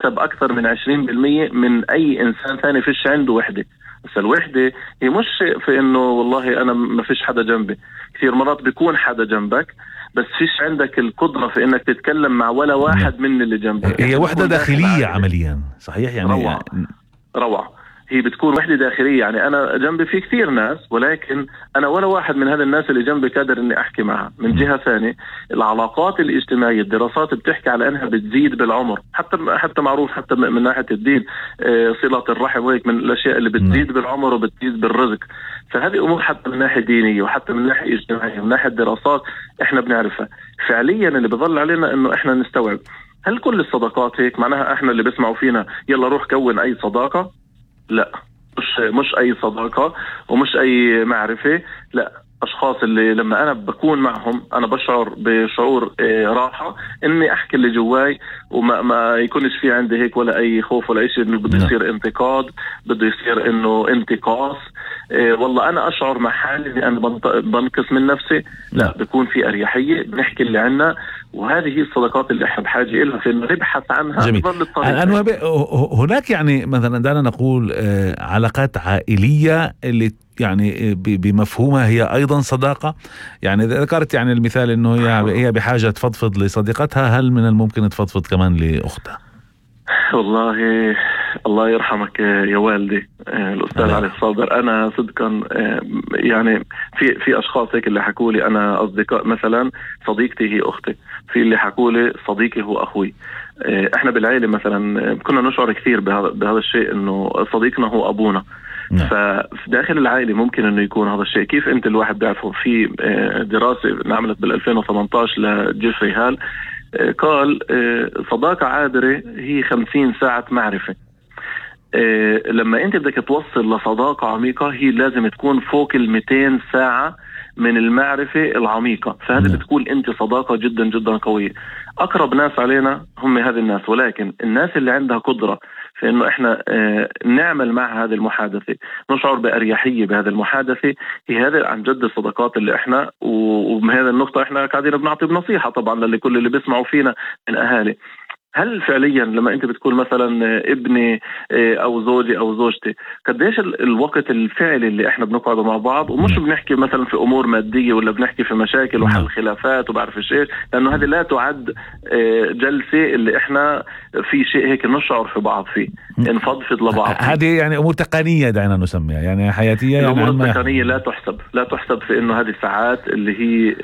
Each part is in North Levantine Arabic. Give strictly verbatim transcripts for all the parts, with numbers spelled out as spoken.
بيكسب أكثر من عشرين بالمية من أي إنسان ثاني فيش عنده وحدة. بس الوحدة هي مش في إنه والله أنا ما فيش حدا جنبي، كثير مرات بيكون حدا جنبك بس فيش عندك القدرة في إنك تتكلم مع ولا واحد من اللي جنبك. هي وحدة داخلية عمليا، صحيح يعني. روعة روعة. هي بتكون وحدة داخلية، يعني أنا جنبي في كثير ناس ولكن أنا ولا واحد من هذا الناس اللي جنبي قادر إني أحكي معها. من جهة ثانية العلاقات الاجتماعية، الدراسات بتحكي على أنها بتزيد بالعمر، حتى حتى معروف حتى من ناحية الدين صلة الرحم وهيك من الأشياء اللي بتزيد بالعمر وبتزيد بالرزق. فهذه أمور حتى من ناحية دينية وحتى من ناحية اجتماعية ومن ناحية دراسات إحنا بنعرفها. فعليا اللي بظل علينا إنه إحنا نستوعب هل كل الصداقات هيك؟ معناها إحنا اللي بيسمعوا فينا يلا روح كون أي صداقة؟ لا، مش مش أي صداقة ومش أي معرفة. لا، أشخاص اللي لما أنا بكون معهم أنا بشعر بشعور راحة إني أحكي اللي جواي وما ما يكونش في عندي هيك ولا أي خوف ولا أي شيء إنه بده يصير انتقاد، بده يصير إنه انتقاص. إيه والله أنا أشعر مع حالي إني أنا بنقص من نفسي. لا، بيكون في أريحية، بنحكي اللي عنا، وهذه هي الصداقات اللي احنا بحاجة إلها في إنه نبحث عنها. جميل. أنا هناك يعني مثلا دعنا نقول علاقات عائلية اللي يعني بمفهومها هي أيضا صداقة. يعني ذكرت يعني المثال إنه هي هي بحاجة تفضفض لصديقتها، هل من الممكن تفضفض كمان لأختها؟ والله الله يرحمك يا والدي الأستاذ علي الصادر. أنا صدقا يعني في في أشخاص هيك اللي حكوا لي أنا أصدقاء، مثلا صديقتي هي أختي، في اللي حكوا لي صديقي هو أخوي. إحنا بالعائلة مثلا كنا نشعر كثير بهذا بهذا الشيء إنه صديقنا هو أبونا. ففي داخل العائلة ممكن إنه يكون هذا الشيء. كيف أنت الواحد بيعرفه؟ في دراسة نعملت بالألفين وثمانية عشر لجيفري هال قال صداقة عابرة هي خمسين ساعة معرفة. لما أنت بدك توصل لصداقة عميقة هي لازم تكون فوق المئتين ساعة من المعرفة العميقة. فهذا بتكون أنت صداقة جدا جدا قوية. أقرب ناس علينا هم هذه الناس، ولكن الناس اللي عندها قدرة في إنه إحنا اه نعمل مع هذه المحادثة، نشعر بأريحية بهذه المحادثة، هي هذا عن جد الصداقات اللي إحنا. وبهذا النقطة إحنا قاعدين بنعطي بنصيحة طبعا لكل اللي بيسمعوا فينا من أهالي. هل فعليا لما انت بتكون مثلا ابني او زوجي او زوجتي قديش الوقت الفعلي اللي احنا بنقعد مع بعض، ومش بنحكي مثلا في امور مادية ولا بنحكي في مشاكل وحل خلافات وبعرف ايش، لانه هذه لا تعد جلسة اللي احنا في شيء هيك نشعر في بعض فيه، نفضفض لبعض. هذه يعني امور تقنية دعنا نسميها، يعني حياتية. الامور يعني التقنية لا تحسب لا تحسب في انه هذه الساعات اللي هي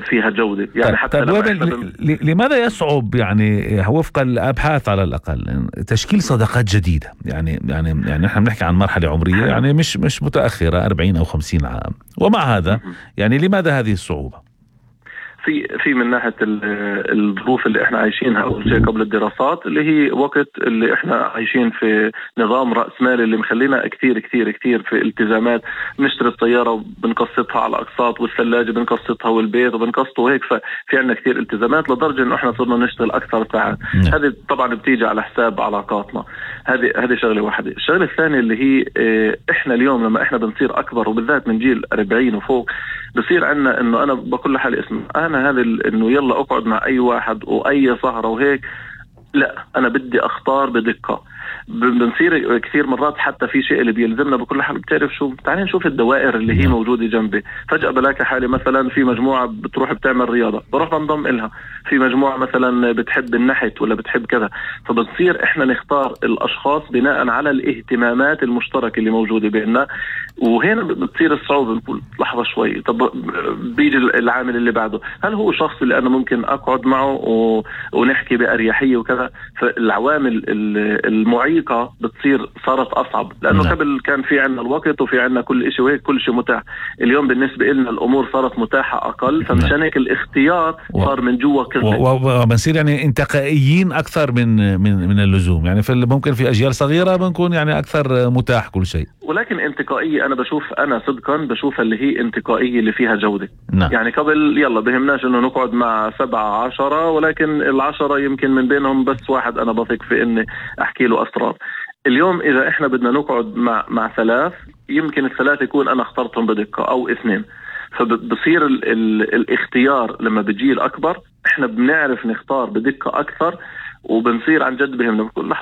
فيها جودة. يعني حتى بن... لماذا يصعب يعني وفق الابحاث على الاقل تشكيل صداقات جديدة؟ يعني يعني يعني نحن بنحكي عن مرحلة عمرية يعني مش مش متأخرة أربعين أو خمسين عام، ومع هذا يعني لماذا هذه الصعوبة؟ في في من ناحية الظروف اللي احنا عايشينها أول شيء قبل الدراسات، اللي هي وقت اللي احنا عايشين في نظام رأسمالي اللي مخلينا كتير كتير كتير في التزامات. نشتري الطيارة وبنقسطها على أقساط، والثلاجة بنقسطها، والبيت وبنقسطه، وهيك ففي عنا كتير التزامات لدرجة إنه احنا صرنا نشتغل أكثر ساعات. هذه طبعا بتيجي على حساب علاقاتنا. هذه هذه شغلة واحدة. الشغلة الثانية اللي هي اه احنا اليوم لما احنا بنصير أكبر، وبالذات من جيل أربعين وفوق، بصير عنا إنه أنا بقول لحالي اسم أنا هذا إنه يلا أقعد مع أي واحد وأي سهرة وهيك، لا أنا بدي أختار بدقة. بنصير كثير مرات حتى في شيء اللي بيلزمنا بكل حال. بتعرف شو؟ تعالي نشوف الدوائر اللي هي موجودة جنبي. فجأة بلاقي حالي مثلا في مجموعة بتروح بتعمل رياضة، بروح بنضم إلها. في مجموعة مثلا بتحب النحت ولا بتحب كذا، فبنصير إحنا نختار الأشخاص بناء على الاهتمامات المشتركة اللي موجودة بيننا. وهنا بتصير الصعوبة. بنقول لحظة شوي، طب بيجي العامل اللي بعده، هل هو شخص اللي أنا ممكن أقعد معه و... ونحكي بأريحية وكذا؟ فالعوامل المعيقة بتصير صارت أصعب، لأنه لا. قبل كان في عنا الوقت وفي عنا كل شيء وهيك كل شيء متاح. اليوم بالنسبة لنا الأمور صارت متاحة أقل، فمشان هيك الاختيار صار من جوا كذا، وبنصير يعني انتقائيين أكثر من من من اللزوم. يعني في ممكن في أجيال صغيرة بنكون يعني أكثر متاح كل شيء، ولكن انتقائية أنا بشوف أنا صدقا بشوف اللي هي انتقائية اللي فيها جودة. نعم. يعني قبل يلا بهمناش إنه نقعد مع سبعة عشرة، ولكن العشرة يمكن من بينهم بس واحد أنا بثق في إني أحكي له أسرار. اليوم إذا إحنا بدنا نقعد مع مع ثلاث، يمكن الثلاث يكون أنا اخترتهم بدقة أو اثنين. فبصير ال ال الاختيار لما بيجي الأكبر إحنا بنعرف نختار بدقة أكثر، وبنصير عن جد بهم بنقول لحظة